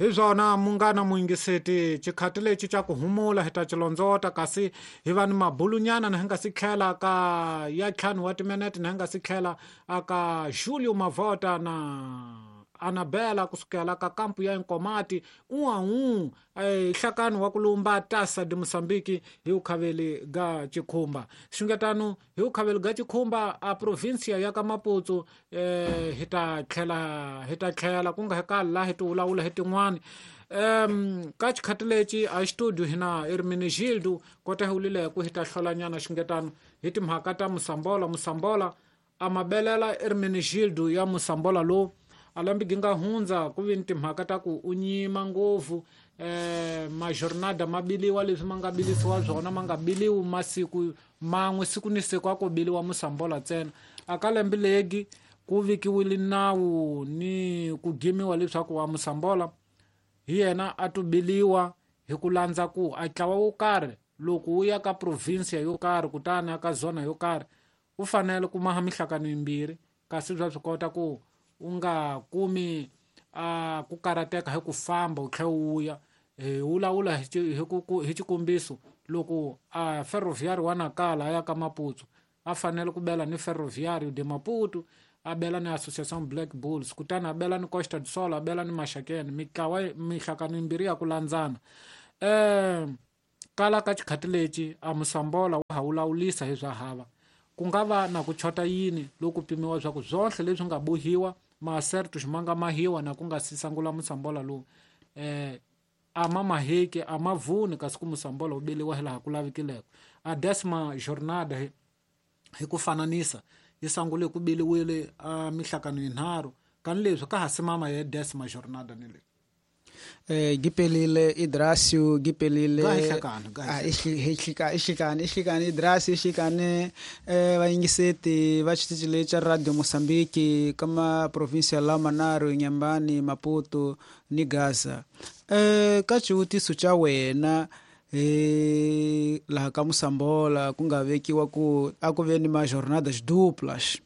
Hi swona munghana muyingiseti, xikhati lexi xa ku humula hi ta xilondzota, kasi hi va ni mabulunyana na hi nga si tlhela ka ya ntlhanu wa timinete, na hi nga si tlhela aka Julio Mavota na Anabela kusukela ka kampu ya Nkomati uau nhlakano wa ku lumba Taça de Moçambique hi ukhaveli ga Chikhumba. Xungetano hi ukhaveli ga Chikhumba a provincia ya ka Maputo, hi ta tlhela, hi ta tlhela ku nga hi kala laha hi ti vulavula hi tin'wani. Ka xikhati lexi a studio hina Hermenegildo kota hi wulile ku hi ta hlolanyana xungetano hi timhaka ta Mosambola. Mosambola a mabelela Hermenegildo ya Mosambola lowu a lembe gi nga hundza ku vi ni timhaka ta ku u nyima ngopfu, majornada ma biliwa leswi ma nga bilisiwa swona, ma nga biliwi masiku man'we, siku ni siku a ko biliwa Mosambola ntsena. A ka lembe legi ku vikiwile nawu ni ku gimiwa leswaku wa Mosambola hi yena a to biliwa hi ku landza ku a ntlawa wo karhi loko wu ya ka province yo karhi kutani a ka zona yo karhi u fanele ku maha mihlakano yimbirhi, kasi bya swi kota ku u nga kumi a ku karateka hi ku famba u tlhela u ya. Hi vulavula hi xikombiso, loko a Ferroviário wa Nacala a ya ka Maputo, a fanele ku bela ni Ferroviário de Maputo, a bela ni Associação Black Bulls, kutani a bela ni Costa do Sol, a bela ni Maxakeni, mitlawa mihlakano yimbirhi ya ku landzana. Kala ka xikhati lexi a Mosambola wa ha vulavulisa hi swa hava, ku nga va na ku chota yini loko pimiwa swa ku swohle leswi nga bohiwa maasertus ma nga mahiwa na ku nga si sangula Mosambola lowu, a ma maheki, a ma vuni, kasi ku Mosambola wu beliwa hilaha ku lavikileko. A décima jornada hi ku fananisa yi sangule ku beliwile a mihlakano yinharhu, kani leswi ka ha simama ya décima jornada ni leyi. Gipelile Idrasio, gipelile Ga hihlekani, ga Ah, ihlekani, ihlekani Idrasio, ihlekani, vayingiseti va xitichi lexi xa Radio Mozambique ka ma provincia la Manaro, Inhambane, Maputo ni Gaza. Ka xivutiso xa wena, laha ka Mosambola ku nga vekiwa ku a ku ve ni ma jornadas duplas.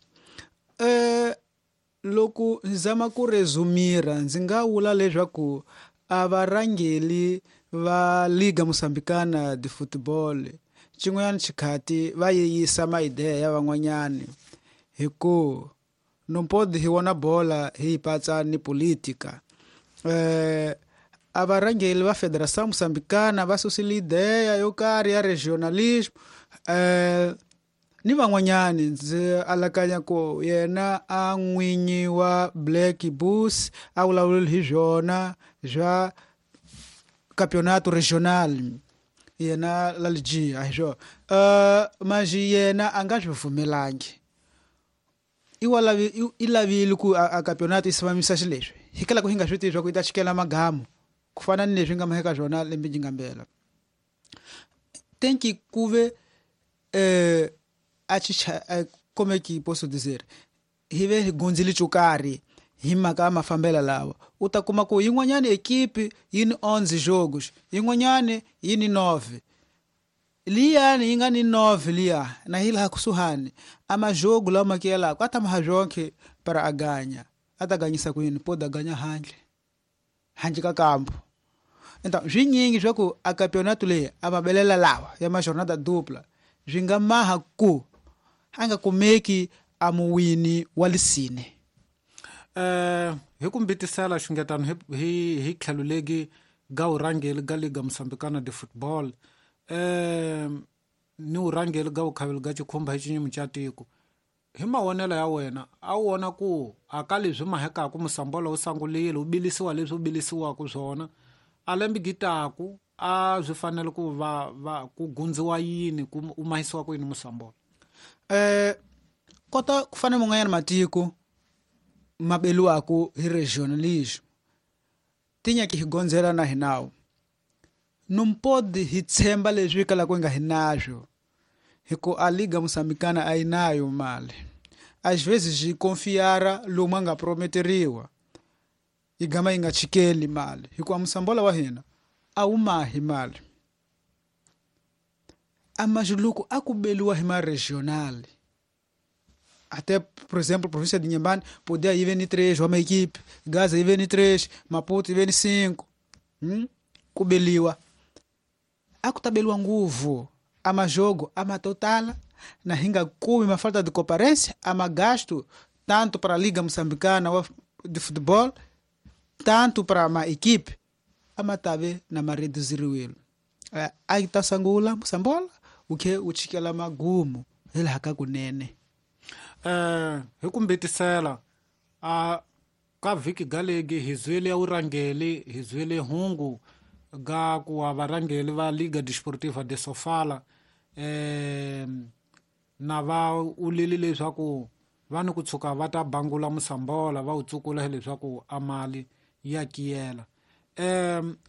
Loko ndzi zama ku resumira, ndzi nga vula leswaku a varhangeli va Liga Moçambicana de Futebol xin'wanyana xikhati va yeyisa maideya ya van'wanyani, hi ku no pode hi vona bola hi yi patsa ni politika. A varhangeli va Federação Moçambicana va susile ideya yo karhi ya regionalismo, ni van'wanyani ndzi alakanya ku yena a n'winyi wa Black Bulls a vulavulile hi swona swa campeonato regional, yena Lalji a hi swona. Manjhe yena a nga swi pfumelangi, i lavile ku a campeonato yi simamisa xileswi, hi kala ku hi nga swi tivi swa ku yi ta chikela magamu ku fana ni leswi nga maheka swona lembe yi nga mbela. Tem que kuve, a chicha, como é que posso dizer, hi ve hi gundzile xo karhi hi mhaka ya mafambelo lawa. U ta kuma ku yin'wanyani ekipi yi ni 11 jogos, yin'wanyani yi ni 9. Liyani yi nga ni 9 liya na hi laha kusuhani, a majogo lawa ma kiyelaka a ta maha zvonke para a ganha. A ta ganyisa ku yini? Pode a ganha handle, handle ka kampo. Então, swinyingi swa ku a campeonato leyi a va belela lawa ya ma jornada dupla swi nga maha ku a nga kumeki a muwini wa lisine. Hi ku mbitisela xungetano hi tlhelo legi ga vurhangeri ga Liga Moçambicana de Football, ni vurhangeri ga vukhaveli ga Chikhumba hi xinyimi xa tiko. Hi mavonelo ya wena, a wu vona ku a ka leswi mahekaku Mosambola wu sangulile, wu bilisiwa leswi wu bilisiwaka swona, a lembe gitaku a swi fanele ku va, va ku gundziwa yini, ku u mahisiwa ku yini Mosambola? Kota ku fana man'wanyana matiko ma beliwaku hi regionalism, tinyaki hi gondzela na hi nawu. Não pode hi tshemba leswi kalaka hi nga hi naswo, hi ku a Liga Moçambicana a yi nayo mali. Às vezes hi confiar lomu a nga prometeriwa, yi gama yi nga chikeli mali, hikuva Mosambola wa hina a wu mahi mali. A majuluku a ku beliwa hi ma regional. Até, por exemplo, província de Inhambane podia ir ni 3, uma equipe, Gaza ir ni 3, Maputo ir ni 5. Ku beliwa a ku ta beliwa nguvu a majogo a matotala na hinga kumi ma falta de comparência a magasto tanto para a Liga Moçambicana de Futebol tanto para a equipe a matabe na mareduziriwelo a ta sangula Moçambola o que o chikela magumo ele haka kunene hi ku mbitisela a ka vhiki galegi hi zwile urangeli hi zwile hungu ga ku wa varangeli va Liga Desportiva de Sofala na va ulile leswaku va ni ku tshuka va ta bangula Moçambola va wu tsukula leswaku a mali ya kiyela.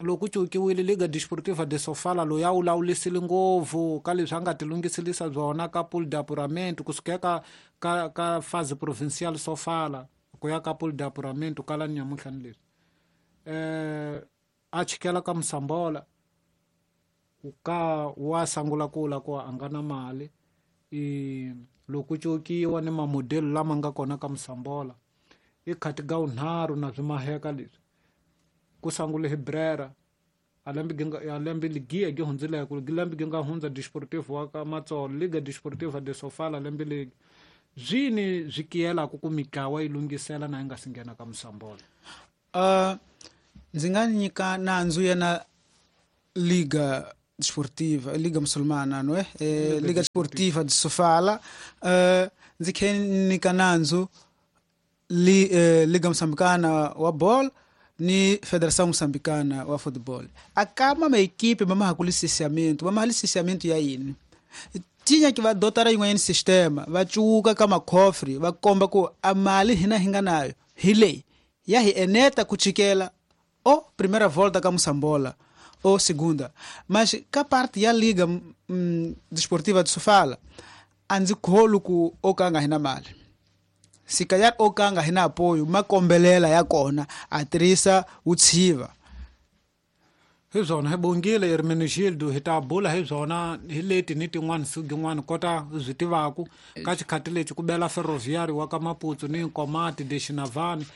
Loko cukiwile Liga Desportiva de Sofala loyi a wulawulisile ngopfu ka leswi a nga tilunghiselisa byona ka pool d'apuramento kusuka ka fase provincial Sofala ku ya ka pool d'apuramento kala nyamuhla ni leswi a chikela ka Moçambola ka wa sangula kula ku a nga na mali loko cukiwa ni mamodelo lama nga kona ka Moçambola i khati ga unharhu na swi maheka leswi ku sangule hi Brera a lembe ligia gi hundzile ku lembe gi nga hundza Desportivo wa ka Matsolo Liga Desportiva de Sofala lembe legi zwini swi kiyelaka ku mitlawa yi lunghisela na yi nga si nghena ka Moçambola. Ndzi nga nyika nandzu yena Liga Desportiva, Liga Muçulmana, não é? Liga Desportiva de Sofala, ndzi khe nyika nandzu Liga Moçambicana wa ball ni Federação Moçambicana wa Futebol. Akama ma equipe mama ha licenciamento, mama licenciamento ya yini. Tinha que va dotara yin'wanyana sistema, va cuka ka makhofri, va komba ku a mali hina hi nga nayo hi leyi ya hi eneta ku chikela o primeira volta ka Moçambola ou segunda. Mas ka parte ya Liga Desportiva de Sofala a ndzi kholi ku o ka nga hina mali. Sikayar o ka nga hina apoio makombelela ya kona a tirhisa wutshiva. Hi swona hi bongile Hermenegildo hi ta bula hi swona hi leti ni tin'wana siku yin'wana kota swi tivaku ka xikhati lexi ku bela Ferroviário wa ka Maputo ni Nkomati de Xinavani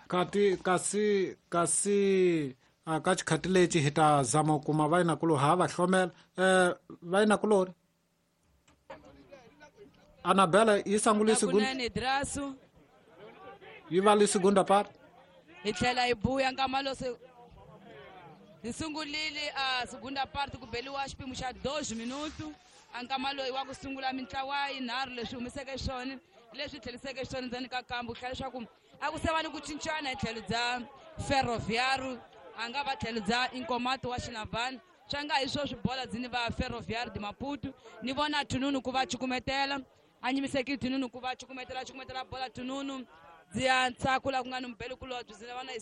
kati kasi ka xikhati lexi hi ta zama ku kuma vayinakulo ha va hlomela vayinakulori Anabela yi sangule segunda yi va le segunda part hi tlhela hi buya nkama se hi sungulile a segunda part ku beliwa xipimo xa 2 minuto a nkama loyi wa ku sungula mintlawa yinharhu leswi humiseke swona leswi tlheliseke swona ndzeni ka kambu tlhela leswaku a ku se va ni ku cincana hi tlhelo bya Ferroviário a nga va tlhelo bya Inkomato wa Xinavani swa nga hi swo swibola dzini va Ferroviário de Maputo ni vona Tununu ku va cukumetela a nyimiseki Tununu ku va cukumetela bola Tununu dzia ntsako la ku nga ni mubeli kulobye dzina va na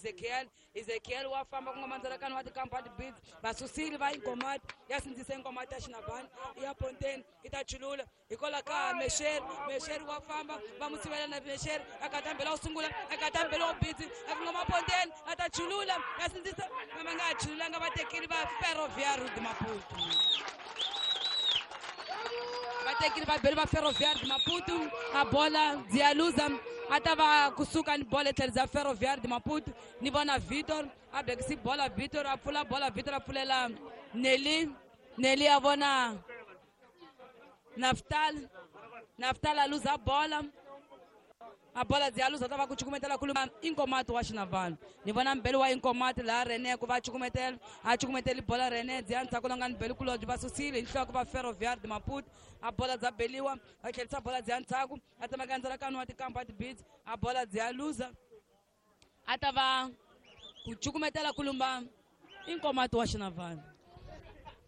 Ezekiel wa famba ku nga mandzalakano wa tikampani beats va susile va Inkomati ya sindzisa Inkomati ya Xinavani ya Ponteni yi ta chulula hikwalaho ka Mesheri wa famba va mu sivela na Mesheri a katambela wo sungula a katambela wo bitsi a ku ngoma Ponteni a ta chulula ya sindzisa va nga chululanga va tekile va Ferroviário de Maputo va tekile va beli va Ferroviário de Maputo a bola dzia luza a ta va kusuka ni bola etlhelo bya Ferroviário de Maputo ni vona Vitor a bekisi bola Vitor a pfula bola Vitor a pfulela Nelly a vona Naftal a luza bola a bola dzi a luza ta va ku cukumetela kuluma Inkomato wa Xinavani ni vona mbeli wa Inkomato laha Rene ku va cukumetela a cukumeteli bola Rene dzi ya ndzhaku la nga ni beli kulobye va susile hi nhloko va Ferroviário de Maputo a bola dza beliwa va tlherisa bola dzi ya ndzhaku a tsemaka ndzalakano wa tikampa tibits a bola dzi ya luza a ta va ku cukumetela kulumba Inkomato wa Xinavani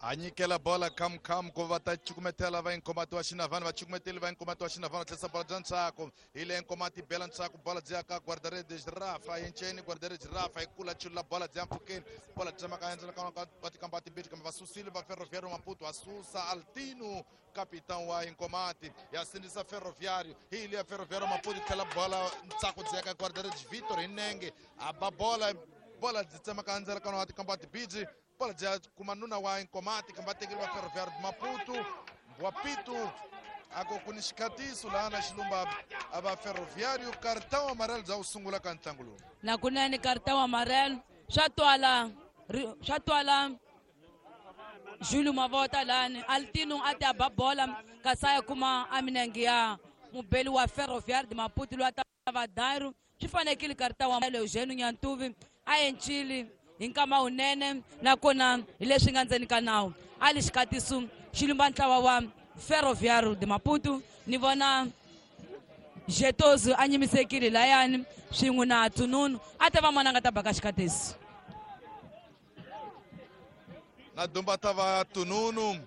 a nyikela bola kam ku va ta cukumetela va Inkomati wa Xinavani va cukumeteli va Inkomati wa Xinavani va tlherisa bola bya ntsako hi le Inkomati bela ntsako bola byi ya ka guarda-redes Rafa yenceni guarda-redes Rafa hi kula chulula bola byi ya mpfhukeni bola byi tsemaka endzalakano wa tikampa timbirhi kambe va susile va Ferroviário Maputo va susa Altino capitão wa Inkomati ya sindzisa Ferroviário hi le ya Ferroviário Maputo tlhela bola ntsako byi ya ka guarda-redes Vitor hi nenge a ba bola byi tsemaka endzalakano wa tikampa timbirhi bola bya kuma nuna wa Inkomati kambe va tekeli va Ferroviário de Maputo Wapitu ako ku ni xikhatiso laha na xilumba a va Ferroviário cartão amarelo bya wu sungula ka ntlangu lowu nakunene cartão amarelo Swa twala swa twala Julio Mavota lani Altino a ti a ba bola kasi a ya kuma a minenge ya mubeli wa Ferroviário de Maputo loyi a ta va Dairo swi fanekile karita wa Eugênio Nyantuvi a encile hi nkama wunene nakona hi leswi nga ndzeni ka nawu a li xikatiso xi lumba ntlawa wa Ferroviário de Maputo ni vona Jetozu a nyimisekile layani swin'we na Tununu a ta va mona a nga ta baka xikatiso na dumba ta va Tununu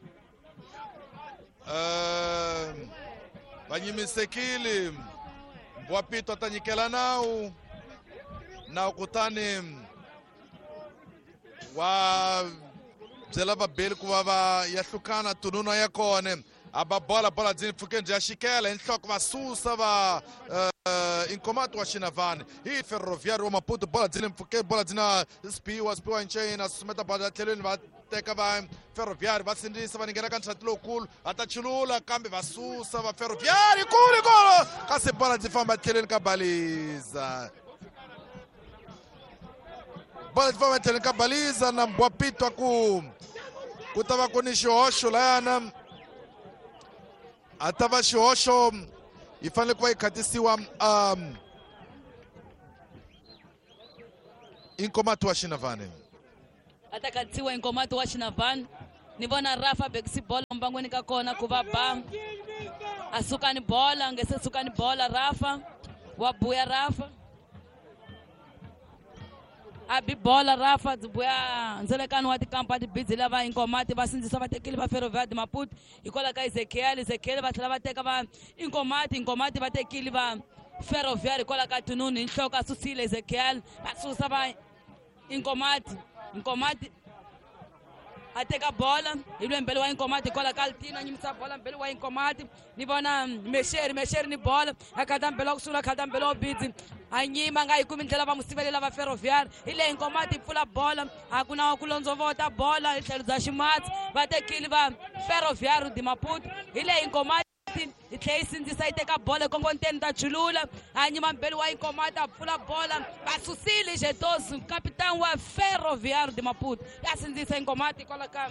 va nyimisekile Mbwapito a ta nyikela nawu nawu kutani wa byela vabeli ku va va ya hlukana Tununu ya kona a ba bola bola byi pfukeni bya xikela hi nhloko va susa va Inkomato wa Xinavani hi Ferroviário wa Maputo bola byi le mpfhukeni bola byi na Spiwa Spiwa Ncena susumeta bola tlhelweni va teka va Ferroviário va sindzisa va ninghena ka ntlhati lowukulu va ta chulula kambe va susa va Ferroviário kulu kulu kasi bola byi famba tlhelweni ka baliza bola byi famba tlhelweni ka baliza na Mbwapito ku ta va ku ni xihoxo layana a ta va xihoxo yi fanele ku va yi khatisiwa Inkomato wa Xinavani a ta khatisiwa Inkomato wa Xinavani ni vona Rafa bekisi bola mbangweni ka kona ku va ba a suka ni bola nge se suka ni bola Rafa wa buya Rafa a bi bola Rafa byi buya ndzelekano wa tikampa tibidzi lava Inkomati va sindzisa va tekile va Ferroviário de Maputo hikwalaho ka Ezekiel Ezekiel va tlhela va teka va Inkomati Inkomati va tekile va Ferroviário hikwalaho ka Tununu hi nhloko a susile Ezekiel va susa va Inkomati Inkomati a teka bola hi lwe mbele wa Inkomati hikwalaho ka Altino a nyimisa bola mbele wa Inkomati ni vona Mexeri Mexeri ni bola a khata mbele wa kusula khata mbele wa bidzi a nyima nga yi kumi ndlela va mu sivelela va Ferroviário hi leyi Inkomati yi pfula bola a ku na ku londzovota bola hi tlhelo bya ximatsi va tekile va Ferroviário de Maputo hi leyi Inkomati yi tlhela yi sindzisa yi teka bola ekongonteni ta chulula a nyima mbele wa Inkomati a pfula bola va susile Jetosu capitão wa Ferroviário de Maputo ya sindzisa Inkomati hikwalaho ka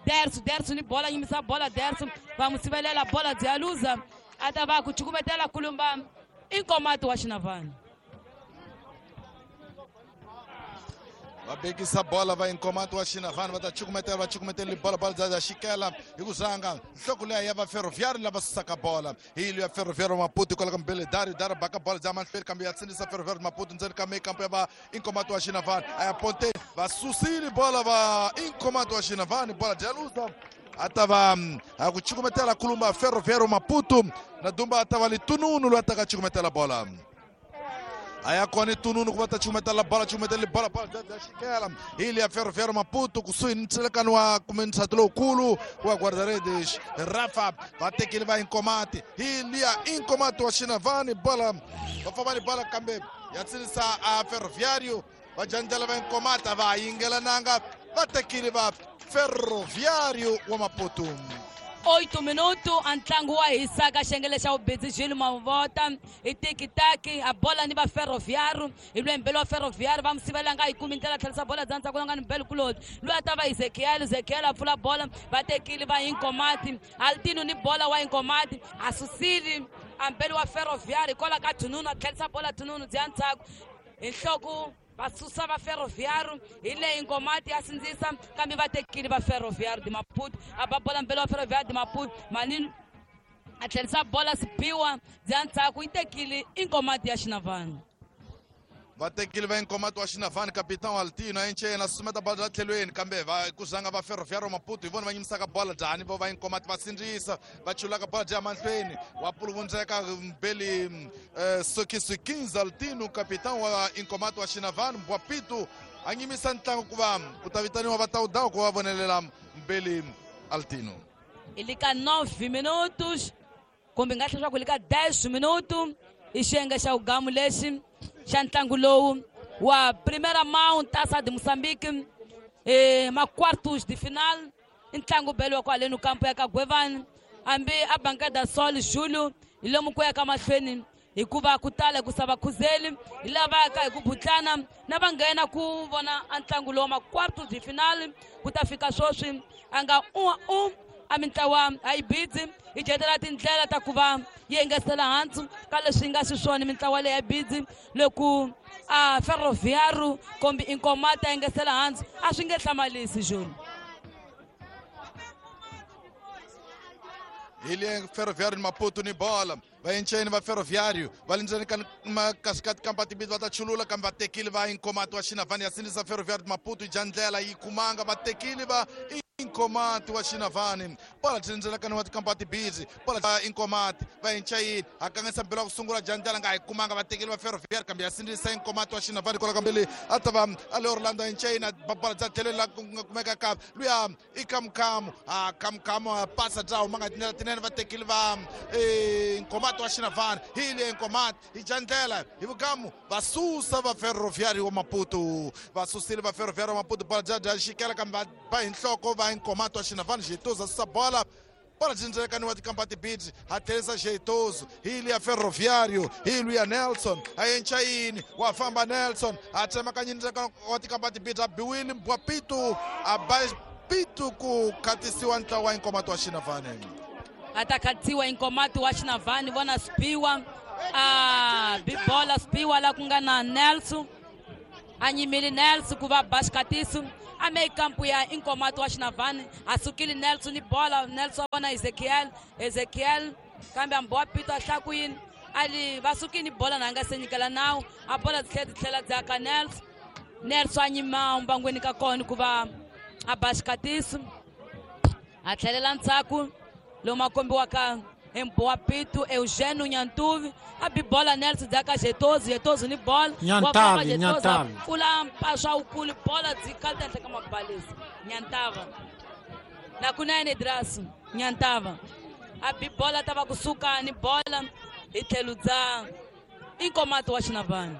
Derso Derso ni bola nyimisa bola Derso va mu sivelela bola byi ya luza a ta va ku cukumetela kulumba Inkomati wa Xinavani va bekisa bola va Inkomato wa Xinavani va ta cukumetela va cukumetela bola bola bya xikela hi ku zanga nhloko leya ya va Ferroviário lava susaka bola hi ya Ferroviário Maputo hikwalaho ka mbele Dario Dario baka bola bya mahlweni kambe ya sindzisa Ferroviário Maputo ndzeni ka mekampo ya va Inkomato wa Xinavani a ya ponteni va susile bola va Inkomato wa Xinavani bola bya luza a ta va a ku cukumetela kulumba Ferroviário Maputo na dumba a ta va litununu loyi a taka cukumetela bola a ya kona Tununu ku va ta cukumetela bola cukumetela bola bola bya xikela hi liya Ferroviário Maputo kusuhi ni ndzilekano wa kumbe ntshato lowukulu wa guarda-redes Rafa va tekile va Inkomati hi liya Inkomati wa Xinavani bola va famba ni bola kambe ya tsinisa a Ferroviário va jandlela va Inkomati a va yingelananga va tekile va Ferroviário wa Maputo 8 minuto a ntlangu wa hisaka xengele xa vubedzi Jules Mavota hi tikitaki a bola ni va Ferroviário hi lwembele wa Ferroviário va mu sivela nga yi kumi ndlela tlherisa bola bya ndzhaku nga ni mbele kuloti loyi a ta va Ezekiel Ezekiel a pfula bola va tekile va Inkomati Altino ni bola wa Inkomati a susile a mbele wa Ferroviário hikwalaho ka Tununu a tlherisa bola Tununu bya ndzhaku hi nhloko va susa va Ferroviário hi leyi Inkomati ya sindzisa kambe va tekile va Ferroviário de Maputo a ba bola mbele wa Ferroviário de Maputo manini a tlherisa bola Sipiwa bya ndzhaku yi tekile Inkomati ya Xinavani va tekile va Inkomati wa Xinavani capitão Altino a encena susumeta bola bya tlhelweni kambe va ku zanga va Ferroviário Maputo hi vona va nyimisaka bola njhani vo va Inkomati va sindzisa va chulaka bola bya mahlweni wa puluvundzeka mbeli Sokisi Altino capitão wa Inkomati wa Xinavani Mbwapito a nyimisa ntlangu ku va ku ta vitaniwa va tawudawu ku va vonelela mbeli Altino hi le ka 9 minutos kumbe nga tlhela swa ku hi le ka 10 minuto i xiyenge xa vugamu lexi xa ntlangu lowu wa Primeira Mão Taça de Moçambique ma quartos de final i ntlangu beliwa kwaleni kampo ya ka Gwevani hambi a Bancada Sol Julio hi lomu ku ya ka mahlweni Hikuva ku tala ku sava khuzeli hi lava ka hi ku butlana na va nghena ku vona a ntlangu lowu ma quarto de finale ku ta fika sweswi a nga u a mintlawa a yi bidzi yi dyetela tindlela ta ku va yi engetela hansi ka leswi nga xiswona mintlawa leyi ya bidzi loko a Ferroviário kombi Inkomati a engetela hansi a swi nge hlamalisi Júlio. Hi le Ferroviário Maputo ni bola va enceni va Ferroviário va le ndzeni ka kasi ka tikampa timbirhi va ta chulula kambe va tekile va Inkomati wa Xinavani ya sindzisa Ferroviário Maputo yi dya ndlela yi kumanga va tekile va Inkomati wa Xinavani bola byi ndzeni ka wa tikampa timbirhi bola va Inkomati va encayini a kanganyisa mbilo wa ku sungula dya ndlela nga yi kumanga va tekile va Ferroviário kambe ya sindzisa Inkomati wa Xinavani kwala kambili a ta va a le Orlando encayini bola bya tlhelweni la ku nga kumeka ka luya i Kamukhamu a Kamukhamu a pasa bya huma nga tindlela tinene va tekile va Inkomati wa Xinavani hi le Inkomati hi dya ndlela hi vugamu va susa va Ferroviário wa Maputo va susile va Ferroviário wa Maputo bola bya dya xikela kambe va hi nhloko va Inkomati wa Xinavani Jeitoso susa bola bola byi wa tikampa tibidzi ha tlherisa Jeitoso hi le ya Ferroviário hi luya Nelson a encayini wa famba Nelson a tsemakanyini wa tikampa tibidzi a biwile Mbwapito a ba pitu ku khatisiwa ntlawa wa Inkomati wa Xinavani a ta khatisiwa Inkomati wa Xinavani vona Spiwa a bibola Spiwa la ku nga na Nelson a nyimile Nelson ku va ba xikatiso a me kampu ya Inkomati wa Xinavani a sukile Nelson ni bola Nelson a vona Ezekiel kambe a mbowa pito a hlaya ku yini a li va sukile ni bola na nga se nyikela nawu a bola tlhela ti tlhela bya ka Nelson Nelson a nyima mbangweni ka kona ku va a ba xikatiso a tlhelela ndzhaku lomu a kombiwaka hi Mbowa Pitu Eugênio Nyantuvi a bi bola Nelson bya ka Jetozo Jetozo ni bola Nyantavi Nyantavi pfula mpaswa wukulu bola byi kalta henhla ka mabalesi Nyantava na kunene Drasu Nyantava a bi bola ta va kusuka ni bola hi tlhelo bya Inkomati wa Xinavani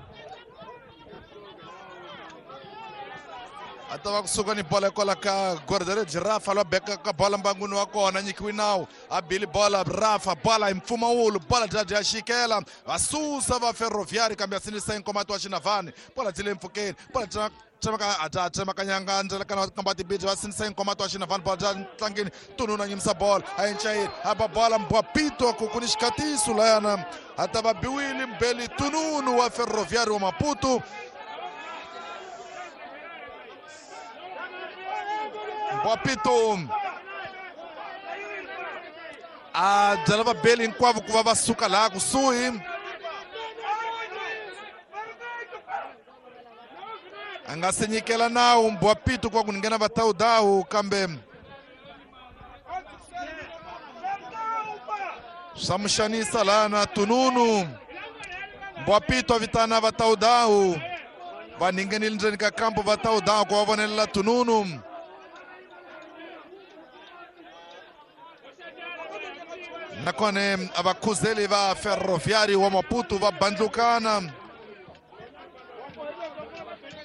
a ta va kusuka ni bola kwala ka guarda-redes Rafa lwa beka ka bola mbangwini wa kona nyikiwi nawu a bili bola Rafa bola hi mpfumawulo bola bya dya xikela va susa va Ferroviário kambe ya sindzisa Inkomati wa Xinavani bola byi le mpfhukeni bola bya tsemaka tsemakanyanga ndzelekana wa tikampa tibidzi va sindzisa Inkomati wa Xinavani bola bya ntlangeni tununa nyimisa bola a encayini a ba bola Mbwapito ku ku ni xikatiso layana a ta va biwile mbeli tununu wa Ferroviário wa Maputo Mbwapito a byela vabeli hinkwavo ku va va suka laha kusuhi a nga se nyikela nawu Mbwapito ku va ku nghena va tawudawu kambe swa mu xanisa laha na tununu Mbwapito a vitana va tawudawu va ninghenile ndzeni ka kampo va tawudawu ku va vonelela tununu nakona a vakhuzeli va Ferroviário wa Maputo va bandlukana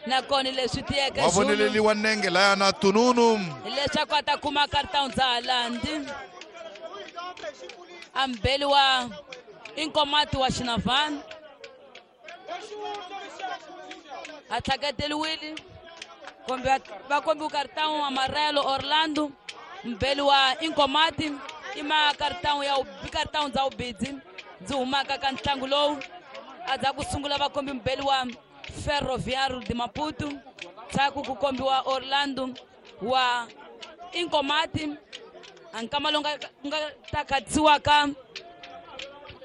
nakona leswi tiyeke wa voneleliwa nenge laya na tununu hileswaku a ta kuma cartão dza halandi a mbeli wa Inkomati wa Xinavani a tlhaketeliwile kombe va kombiwe cartão amarelo Orlando mbeli wa Inkomati i ma cartão ya cartão dza ubidzi byi humaka ka ntlangu lowu a dza ku sungula va kombi mbeli wa Ferroviário de Maputo ndzhaku ku kombiwa Orlando wa Inkomati a nkama lowu nga ta khatsiwaka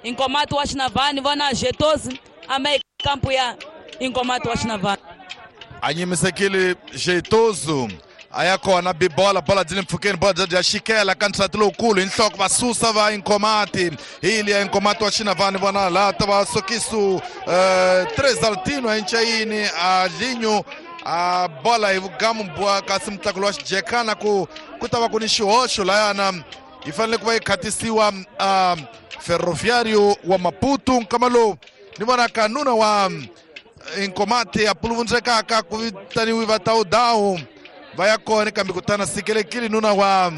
Inkomati wa Xinavani vona Jetosi a ma kampu ya Inkomati wa Xinavani a nyimisekile Jetoso a ya kona bibola bola byi le mpfhukeni bola bya xikela ka ntlhati lowukulu hi nhloko va susa va Inkomati hi liya Inkomati wa Xinavani vona laha ta va sokisu Tresaltino encayini a linyo a bola hi vugamu bwa kasi mutlakulo wa xijekana ku ta va ku ni xihoxo layana yi fanele ku va yi khatisiwa Ferroviário wa Maputo nkama lowu ni vona ka nuna wa Inkomati a puluvundzekaka ku vitaniwi va tawudawu va ya kona kambe kutana sikelekile nuna wa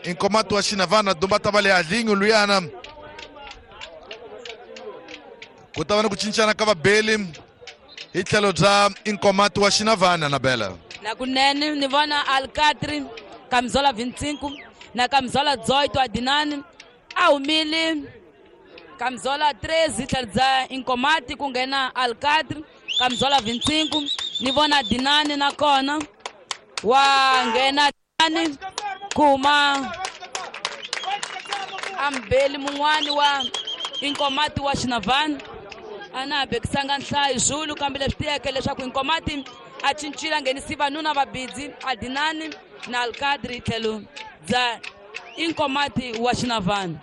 Inkomati wa Xinavana dumba ta va le alinyo luyana Ku ta va ni ku cincana ka vabeli hi tlhelo bya Inkomati wa Xinavana na Bela. Nakunene ni vona Alcatri camisola 25 na camisola 18 Adinani a humile camisola 13 tlhelo bya Inkomati ku nghena Alcatri camisola 25 ni vona Adinani nakona wa nghena Adinani ku huma ambeli mun'wani wa Inkomati wa Xinavana. A na ha bekisanga nhlayo Zulu, kambe leswi tiyeke leswaku Inkomati a cincile a nghenisi vanuna vabidzi Adinani na Alcadri tlhelo bya Inkomati wa Xinavana.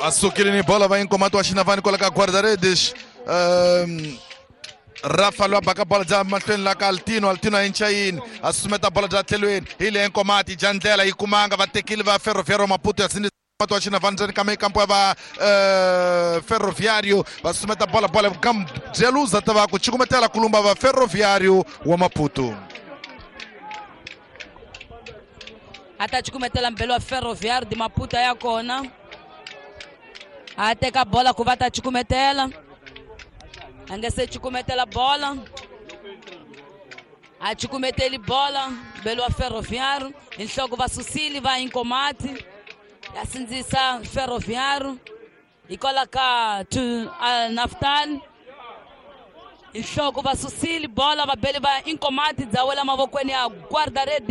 Va sukile ni bola va Inkomati wa Xinavana kwala ka guarda-redes. Rafa loyi a baka bola bya mahlweni la ka Altino, Altino a yincha yini a susumeta bola bya tlhelweni hi le Inkomati dya ndlela yi kumanga va tekile va Ferroviário Maputo ya sindzisa wa Xinavana ndzeni ka mikampo ya va Ferroviário va susumeta bola bola byeluza ta va ku cukumetela kulumba va Ferroviário wa Maputo. A ta cukumetela mbelo wa Ferroviário de Maputo ya kona a teka bola ku va ta cukumetela, a nga se cukumetela bola, a cukumeteli bola mbelo wa Ferroviário hi nhloko va susile va Inkomati ya sindzisa Ferroviário hikwalaho ka Naftal hi nhloko va susile bola vabeli va Inkomati dza wela mavokweni ya guarda-redes.